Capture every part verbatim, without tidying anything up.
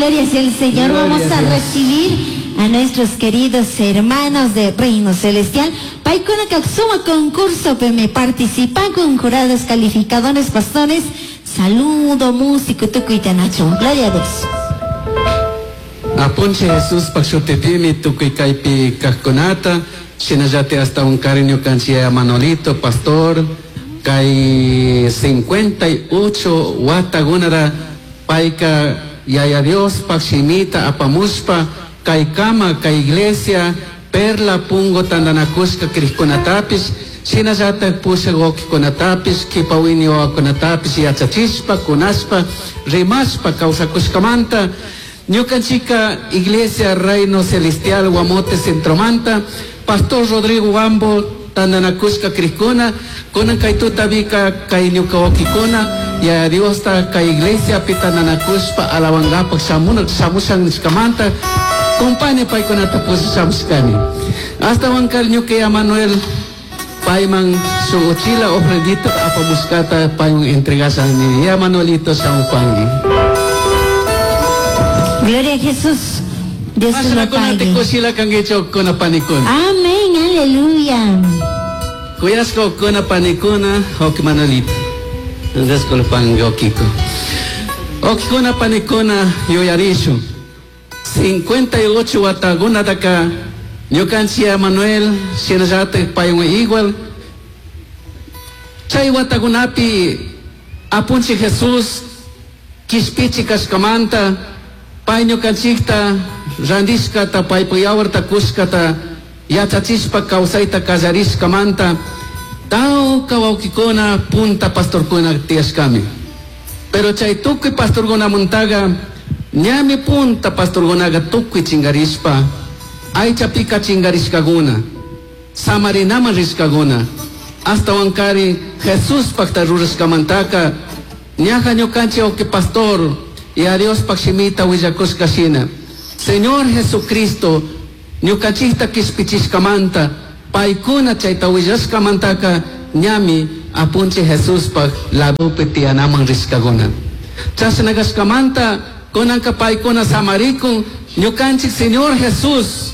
Gloria sea al Señor. Gloria Vamos a a Dios. recibir a nuestros queridos hermanos de Reino Celestial. Paykuna suma concurso me participan con jurados calificadores, pastores. Saludo, músico, tukuy Nacho. Gloria a Dios. Apunchij Jesuspaj shutipimi tukuy kaypi kajkunata, shinallati hasta un cariño kanchia Manolito, pastor, kay cincuenta y ocho watagunara payka yaya Diospaj shimita apamushpa, kay kama, kay iglesia, Perla Pungo tandanakushka krishkunatapis, shinallata pushak wakikunatapis, kipawini wawakunatapis, yachachishpa, kunashpa, rimashpa, kawsakushkamanta. Ñukanchika Iglesia Reino Celestial Guamote Centromanta, Pastor Rodrigo Wambo tandanakushka krishkuna, kunan kay tutabika kay ñuka wakikuna, ya Diosta kay iglesia pi tandanakushpa alabangapak shamuna, shamushan nishkamanta, compañe paykunata pushamushkani. Hasta wankar ñuka ya Manuel payman su uchila ofrendita apamushkata payman entregasani. Ya Manuelito shamupangi. Gloria a Jesús. Dios te lo Masana kuna te pague. kushila kangicho kuna panikuna. Amén, aleluya. Kuyasco kuna panikuna, ok Manuelito. Disculpan, okiko. Ok kuna panikuna, yoyarishu. cincuenta y ocho wataguna daka, ñukanchia Manuel, shinallate paywan igual. Chay watagunapi, apunchi Jesús, kishpichi kashkamanta, pay ñukanchikta, randishkata, paypa yawarta kushkata, yachachishpa kawsayta kallarishkamanta, tawka wawkikuna punta pastorkuna tiyashkami. Pero chay tukuy pastorkunamuntaqa, ñami punta pastorkunaqa tukuy chingarishpa, aychapika chingarishkakuna, samarinaman rishkakuna, hasta wankari Jesuspaqta rurashkamantaka, ñaja ñukanchik wawqi pastor, y a Diospaq shimita willakushka shina. Señor Jesucristo, ñukanchikta kishpichishkamanta, paykuna chayta willashkamantaka, ñami apunchik Jesuspaq ladopi tiyanaman rishkakuna. Chashna kashkamanta, kunanka paykuna samarikun, ñukanchik Señor Jesús,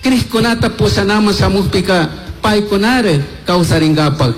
krishkunata pushanaman shamukpika, paykunare kawsarinkapak.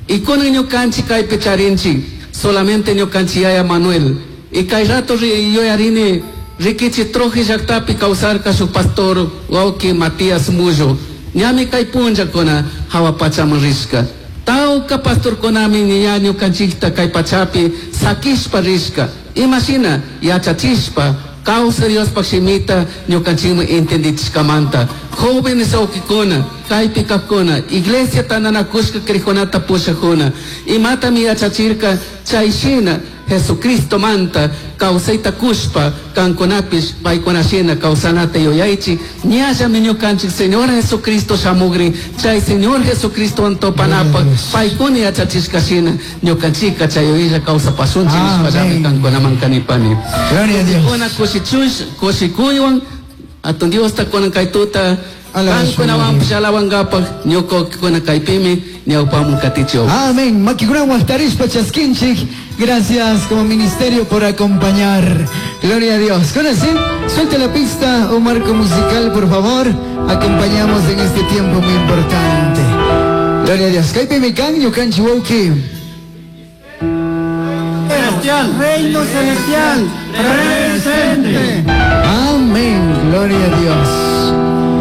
Y kunan ñukanchik kaypi charinchik, solamente ñukanchik yaya Manuel. Y kay rato ri-, yuyarini, rikichi troji llaktapi kawsarka shuk pastor wawki Matías Mullo. Ñami kay punllakuna hawa pachaman rishka. Tawka pastorkunami ña ñukanchikta kay pachapi sakishpa rishka. Imashina yachachishpa kawsa Diospaj shimita ñukanchikman entendichishkamanta. Jóvenes wawkikuna, kaypi kajkuna, iglesia tandanakushka krikkunata pushakuna. Imatami yachachirka chay shina Jesucristo manta kawsayta kushpa kankunapish paykunashina kawsanata yuyaychik. Ñallami ñukanchik Señor Jesucristo shamugrin, chay Señor Jesucristo antopanapaj paykuna yachachishka shina ñukanchikka chay yuyaylla kawsapasunchik nishpallami Amén. kankunaman kanipani. Gloria a Dios. Kuna kushichush, kushikuywan, atun Diosta kunan kay tuta, Alaba su kankunawanpish alabankapak, ñuka kaypimi ñawpamun katichiw. Amén. Makikunawan waqtarishpa chaskinchik. Gracias como ministerio por acompañar. Gloria a Dios. Con así, suelte la pista, un marco musical, por favor. Acompañamos en este tiempo muy importante. Gloria a Dios. Kaypi mikan, ñukanchik wawqi. Celestial, Reino Celestial, presente. Amén. Gloria a Dios.